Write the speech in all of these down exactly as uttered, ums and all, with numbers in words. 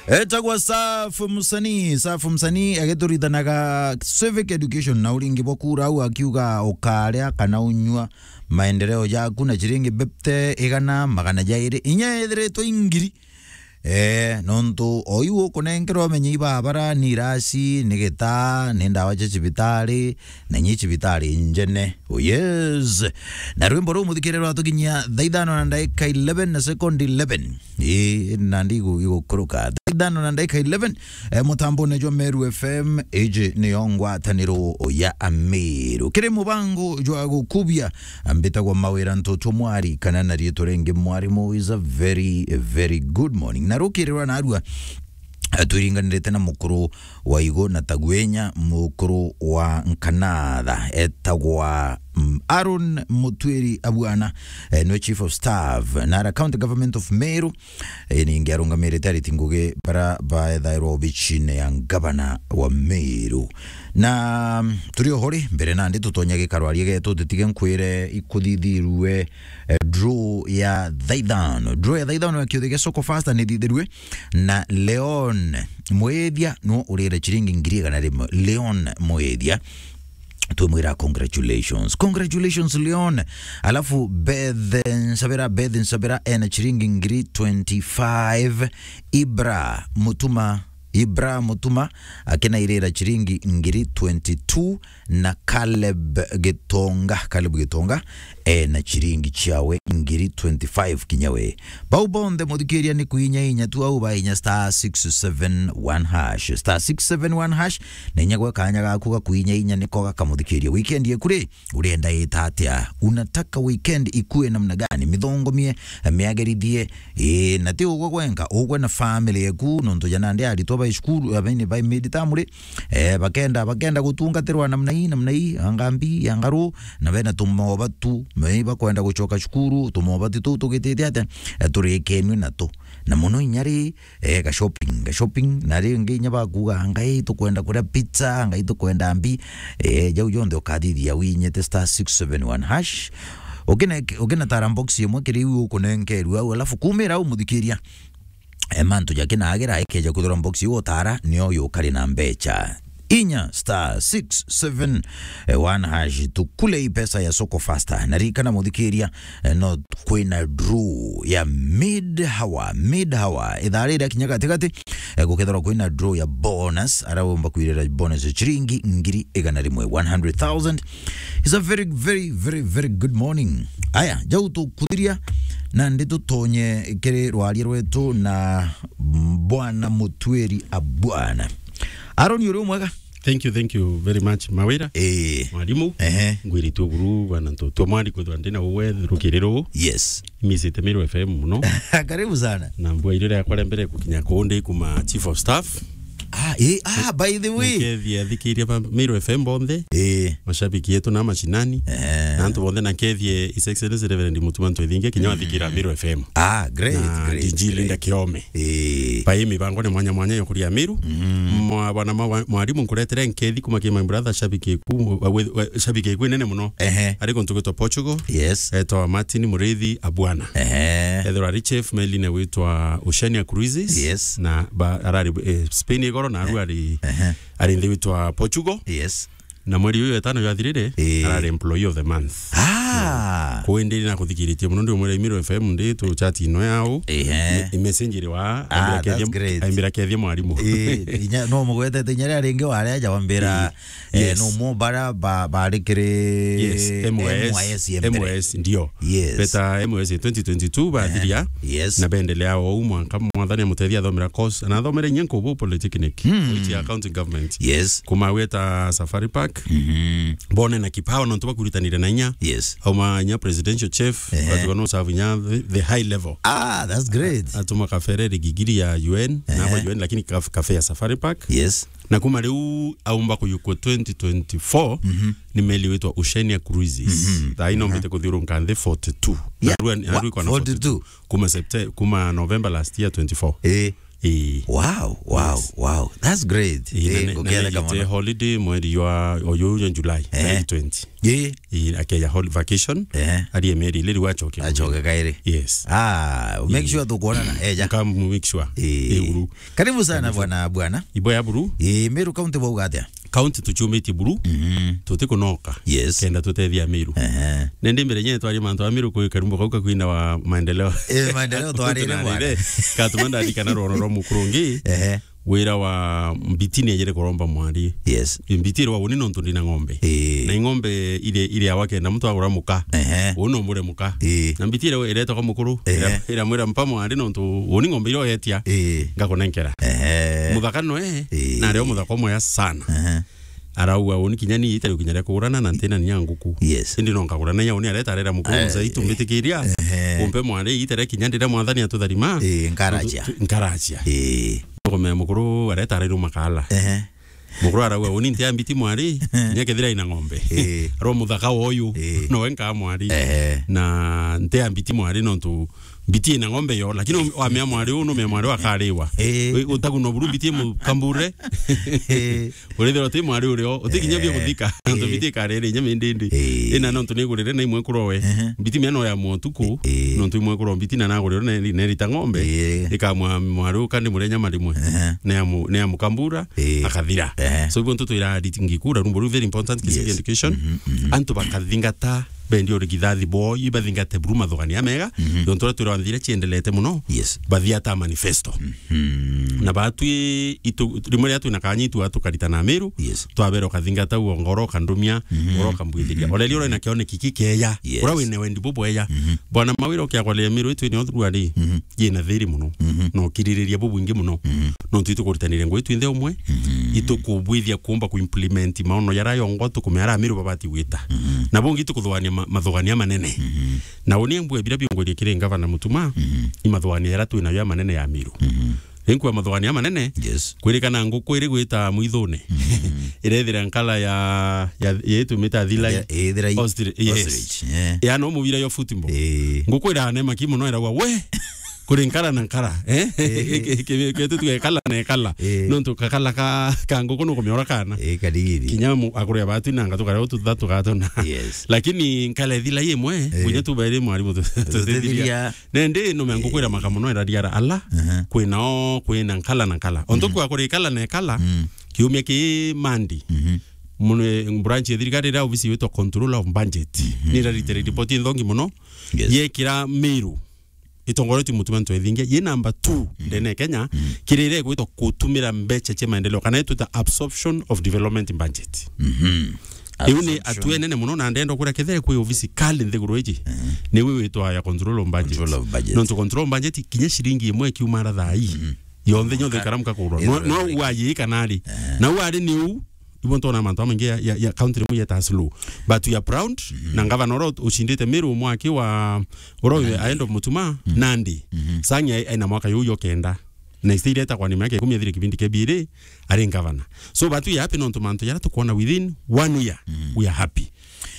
Etagwa Safu Msanii. Safu Msanii agituritanaga civic education na uringi bwa kura, au akiuga ukaria kana unyua maendeleo jaku na ciringi bipte igana magana jairi inya ethiritwe ingiri. Eh, nontu oyu ukunenkerwa umenye ibabara, ni irasi, ni gitaa, ni ndawa cia cibitari, na inya cibitari njene. Oh yes. Na rwimbo ruu muthikiriro rwatukinyia thaa ithano na ndagika eleven na second eleven. Ii, nandi igu-, igukuruka. Thaa ithano na ndagika eleven, eh, mutambone jwa Meru F M, iji niyo ngwataniro ya Amiru. Kiri mubango jwa gukubia, mbitagwa Mawira Ntutu Mwari, kana na riitwa ringi Mwarimu. Is a very, very good morning. Na rukirirwa narua, eh, twiringanirite na mukuru wa igo na tagwenya, mukuru wa Nkanatha, etagwa, mm, Aaron Mutwiri Abwana, eh, niwe chief of staff na ara county government of Meru. Eh, ningi arungamirite ariti ngugi bara baethairwa obicine ya ngavana wa Meru. Na, mm, turi ohori mbere nandi tutonya gikaro arie getu, tutige nkwire ikuthithirue, eh, draw ya thaa ithano. Draw ya thaa ithano ya kiuthi gia Soko Fasta ni thithirue na Leon Mwethia no urire chiringi ngiri igana rimwe. Leon Mwethia, twimwira congratulations. Congratulations, Leon. Alafu Beth Nsabira, Beth Nsabira ena chiringi ngiri twenty-five. Ibra Mutuma, Ibra Mutuma akinairira chiringi ngiri twenty-two, na Caleb Gitonga, Caleb Gitonga ena chiringi chiawe ngiri twenty-five kinya we. Bau bonthe muthikiria ni kuinya inya tu, au bainya star six seven one hash, star six seven one hash, na inya gwe kanya gaku ga kuinya inya niko gakamuthikiria. Weekend yeku ri, urenda ita atia? Unataka weekend ikue namna gani? Mithongomie, miagerithie, ii, na ti ugwe gwenka, ugwe na family yeku, nontu ja nandi aritwa bai cukuru, abaini bai midterm ri, eh, bakenda, bakenda gutungatirwa namna ii, namna ii, anga mbi, anga ru, na bena tumoba tu, me bakwenda gucoka cukuru, tumoba tu tuu tugitite atia, eh, turikenue nato. Na muno inya ri, eh, ga shopping, ga shopping, na ringi inya bakuga, "Ngai tukwenda kuria pizza, ngai tukwenda mbi." Eh, jau jonthe ukathithia winyite star six seven one hash. Ukine-, ukinatara box imwe kiri iu ukunenkerua au, alafu kumira au muthikiria, eh, mantu jakinagira, ikeja kwithirwa box iu utara, nio yukari na mbecha. Inya star six seven one hash, tukule i pesa ya Soko Fasta. Na ririkana muthikiria, eh, no kwina draw ya mid hour, mid hour. Ithaa riria kinya gatigati, eh, gukethirwa kwina draw ya bonus, ara umba kwirira bonus ya chiringi ngiri igana rimwe, one hundred thousand. It's a very, very, very, very good morning. Aya, jau tukuthiria, nandi tutonye kiri rwaria rwetu na Bwana Mutwiri Abwana. Aaron, uri mwega? Thank you, thank you very much, Mawira. Eh. Mwalimu. Ehe. Ngwirite buru, bwana Ntutu Mwari, kwithwa ndina uwe rukiri ruu. Yes. Imisite Meru F M muno. Karibu sana. Na mbua irire yakwa ria mbere gukinya kundi kuma chief of staff. Ah, eh, ah, by the way. Nkethia thikiria ba Meru F M bonthe. Eh. Mashabiki yetu na mashinani. Eh. Na antu bonthe na nkethie His Excellency Reverend Mutuma Ntwethinge kinya wathikira Meru F M. Ah, great, na great, D G great. Linda Kiome. Eh. Bai mibango ni mwanya mwanya ya kuria Meru. Mm. Mwa-, bwana mwa-, mwalimu nkuretere nkethi kuma ki my brother, shabiki ku-, wa-, wa-, shabiki ku nene muno. Ehe. Ari kuntu gwitwa Portugal. Yes. Etwa Martin Murithi Abwana. Ehe. Ethirwa ari chef meli-ini gwitwa Oceania Cruises. Yes. Na ba-, arari, eh, Spain igoro na aru ari, ehe, ari nthi gwitwa Portugal. Yes. Na mweri uyu etano jwathirire, eh, arari employee of the month. Ah. Kwindi na kuthikiritie muno, ndi umwira Imiro F M ndi tu chat ino yao. Ehe. Me-, message iri wa, ah, aimbira kethia, that's great. Aimbira kethia mwarimu. Eh, inya, no mugwetete inya ria ringi waria aja wambira, eh, yes, no mo bara ba-, bari kiri, yes, M Y S, M Y S ya mbere. M Y S, ndio. Yes. Beta M Y S twenty twenty-two bathiria. Ehe. Yes. Na bendelea o u mwanka mwathani amutethia athomera course. Na athomere inya Nkubu Polytechnic, mm, which ya county government. Yes. Kuma weta Safari Park. Mhm. Bone na kipawa nontu bakuritanire na inya. Yes. Auma inya presidential chef, ehe, batuga no serve inya the, the high level. Ah, that's great. Atuma kafere rigigiri ya U N, ehe, na kwa U N, lakini kaf-, kafe ya Safari Park. Yes. Na kuma riu aumba kuyukua twenty twenty-four, mhm, ni meli witwa Oceania Cruises. Mhm. Thaa ino, aha, mbite kuthiurunka nthi forty-two. Yeah. Narua, narua wa-, ikona forty-two. Forty-two. Kuma Septe-, kuma November last year twenty-four. Eh. Ii. Wow, wow, wow. That's great. Ii, na Eh, ne-, na nguketheka nijite mono. Holiday mweri wa, oyu ya July, Eh. July twenty. Ii. Ii, akeja hol-, vacation, Eh. arie meri ile riu acoke. Acoke kairi. Yes. Ah, make Ii. sure tukuonana. Eja. Come make sure. Ii. Ii, uru. Karibu sana bwana, bwana. Ibo ya buru. Ii, Meru County bauga atia? County tuciumitie buru, Mhm. tutikunoka. Yes. Kenda tutethia Meru. Ehe. Nende mbere nyene twari mantu a Meru kwi karumbo kau kakwina wa maendeleo. Eh, maendeleo twarire bwana. Katuma ndarikana rwono rwa mukuru ungi. Ehe. Wira wa mbiti ni ejere kuromba mwari. Yes. Mbiti irwa uni nontu ndina ng'ombe. Eh. Na ing'ombe ile, ile awa kenda mtu agura muka. Ehe. Uni omure muka. Eh. Na mbiti ile iretwa kwa mukuru. Ehe. Ira, ira mwira mpa mwari nontu uni ng'ombe ile oyetia. Eh. Ngakunenkera. Ehe. Muthaka noe, Eh. na ario muthaka omwe ya sana. Ehe. Arauga, "Uni kinya ni itari kinya ria kugurana na ntina nya nguku." Yes. Indi no nkagurana ya uni areta arera mukuru Eh, mzee itu mbitikiria. Ehe. Umpe mwari itare kinya ndira mwathani atutharima. Eh, nkaracia. Tu-, tu-, nkaracia. Eh. Ngome mukuru areta arairu makala. Ehe. Mukuru arauga, "Uni ntia mbiti mwari, nya kethira ina ng'ombe." Eh. Aro muthaka woyu, Eh. no enka mwari. Ehe. Na ntia mbiti mwari nontu mbiti ina ng'ombe yo, lakini um-, wamea mwari uu, numea mwari wa kariwa. Eh. Wi-, utagu no buru mbiti mukambure. Eh. Urithira uti mwari urio, uti kinya bia Eh. kuthika. Nontu Eh. mbiti ikarere inya mindindi. Eh. Ina nontu nigurire na imwe kurowe. Ehe. Mbiti mia no ya motuku, Eh. nontu imwe kuro mbiti na nagurire na eri-, na erita ng'ombe. Eh. Ikamwa mwari uu kandi murenya marimwe. Ehe. Ne amu-, ne amukambura, Eh. akathira. Ehe. So, ibo ntu twira ngikura, rumbo ruu very important, Kisii Yes. education. Mhm, mhm. Antu bakathingata bendi urigithathi boo, ibathingate buru mathugania mega, Mhm. nontu uria twirwa nthira ciendelete muno, Yes. bathiata manifesto. Mhm. Na batwi itu, rimwe riria twina kanya itu atukaritana Meru, Yes. twabera ukathingata uo ngoro ukandumia, Mhm. ngoro ukambwithiria. Mhm. Ore rio ina kioneki kikeya, Yes. ura wina wendi bubweya. Mhm. Bwana mawira ukiagwaria Meru itu ni othurua ri, Mhm. yina thiri muno, Mhm. na ukiririria bubwingi muno. Mhm. Nontu itukuritanire ngui twinthe umwe, Mhm. itukubwithia kuumba kuimplement maono jara yongo tukumea ara Meru babati gwita. Mhm. Na bungi tukuthuania ma-, mathugania manene. Mhm. Na uni mbue bira biongwerie kiri ngavana Mutuma, Mhm. i mathugania jara twinayo ya manene ya Meru. Mhm. Rinkua mathugania manene, Yes. kwirikana nguku iri gwita mwithune. Mhm. Irethira nkala ya, ya, ya itumita thilai. Ya, ithira i-, Ostrich, yes. Ostrich, yeah. Ya no mubira yo football. Eh. Nguku irane maki muno iragwa, "We!" Kuri nkara na nkara, eh? Eh. Ke-, ke-, ke-, tuge kala na kala. Eh. Nontu kakala ka, ka nguku nukumiora kana. Eh, kadigiri. Kinya mu-, akuri abatu na ngatu kare utu thatu gatona. Yes. Lakini nkala ithila imwe, Eh. kunya tu bairi mwarimu tu-, tutithiria. Tutithiria. Nende no mengo kwira maka muno irariara ala, Aha. kwina o, kwina nkala na nkala. Onto Mhm. kwa kuri kala na kala, Mm. kiumia ki Mandi. Mhm. Mune branch ya thirikari ira ofisi witwa Control of Budget. Mhm. Ni rarite report inthongi muno. Yes. Yekira Meru. Itongoretio Mutuma Ntwethingia, ye number two Mhm. ndene Kenya, Mhm. kirire gwitwa kutumira mbecha cia maendeleo, kana itwita absorption of development budget. Mhm. Iu ni Absorption. Atua enene muno, na ndenda kwira kethira kwi ofisi kali nthiguru iji, Mhm. ni wi witwa ya control of budget. Control of budget. Nontu control of budget, kinya shilingi imwe ikiuma ara thaa ii, Mhm. yonthe nyonthe Ka-, ikaramka kugurwa. No, no ithirwe. Uayi kana ari. Eh. Na uari ni u, ibo ntona mantu amaingi ya, ya, ya county rimwe yeta slow. But we are proud, Mhm. na ngavana ura ucindite Meru mwaki wa, ura uyu Nandi. Aendo Mutuma, Mhm. Nandi. Mhm. Sangi ai-, aina mwaka yu yo kenda. Na iste ireta kwa nima yake ikumi athire kibindi kia biri, ari ngavana. So, but we are happy nontu mantu jara tukwona within one year, Mm. we are happy.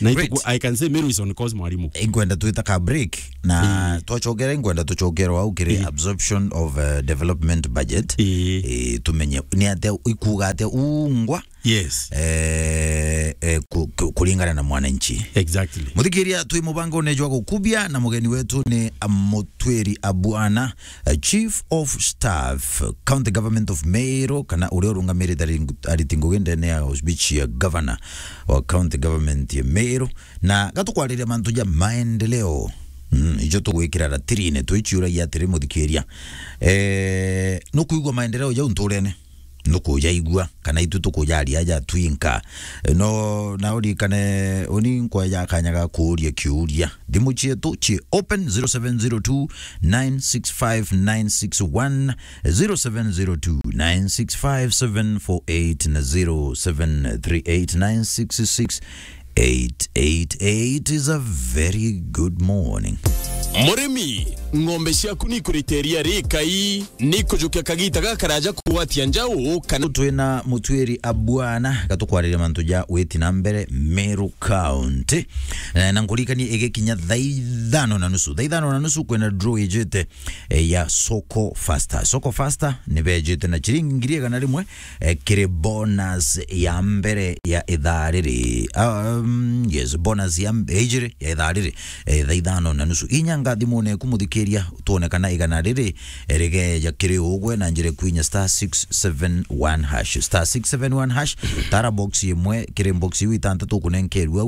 Na Great. Ituku, I can say Meru is on course, mwarimu. Ingwenda twita ka break, na Mm. twachokera, ingwenda tuchokera au kiri Mm. absorption of, uh, development budget. Mm. Eh, tumenye ni atia ikuga atia ungwa. Yes. Eh, eh, ku-, ku-, kuringana na mwananchi. Exactly. Muthikiria, twi mubangone jwa gukubia, na mugeni wetu ni Mutwiri Abuana, eh, Chief of Staff, County Government of Meru, kana uria urungamirite ari-, ariti ngugi ndene ya speech ya governor wa County Government ya Meru, na gatukwariria mantu ja maendeleo. Mm, ijo tugwikira ratirine, twichiuragia atiri, muthikiria. Eh, nukuigua maendeleo jau nturene? Nukujaigua, kana itu tukujaria aja twinka? No, na urikane, uni nkwaja kanya ga kuuria kiuria. Thimu cietu ci open, zero seven zero two, nine six five, nine six one, zero seven zero two, nine six five, seven four eight na zero seven three eight, nine six six, eight eight eight. Is a very good morning. Murimi Ng'ombe ciaku ni ikurite iria rikai, ni ikujukia kagita gakaraja kugwatia njau kana. Twina mutwiri a bwana, gatukwariria mantu ja witi na mbere Meru County. Eh, na nkuririkanie igikinya thaa ithano na nusu. Thaa ithano na nusu kwina draw ijite, eh, ya Soko Faster. Soko Faster ni bejite na chiringi ngiri igana rimwe, eh, kiri bonus ya mbere ya ithaa riri. Um, yes, bonus ya mb-, ya ijiri ya ithaa riri, eh, thaa ithano na nusu. Inya ngathimune ku muthikiria, twone kana igana riri, eh, rigeja kiri ugwe na njira kwinya star six seven one hash. Star six seven one hash, tara box imwe kiri box iu itantatu ukunenkerua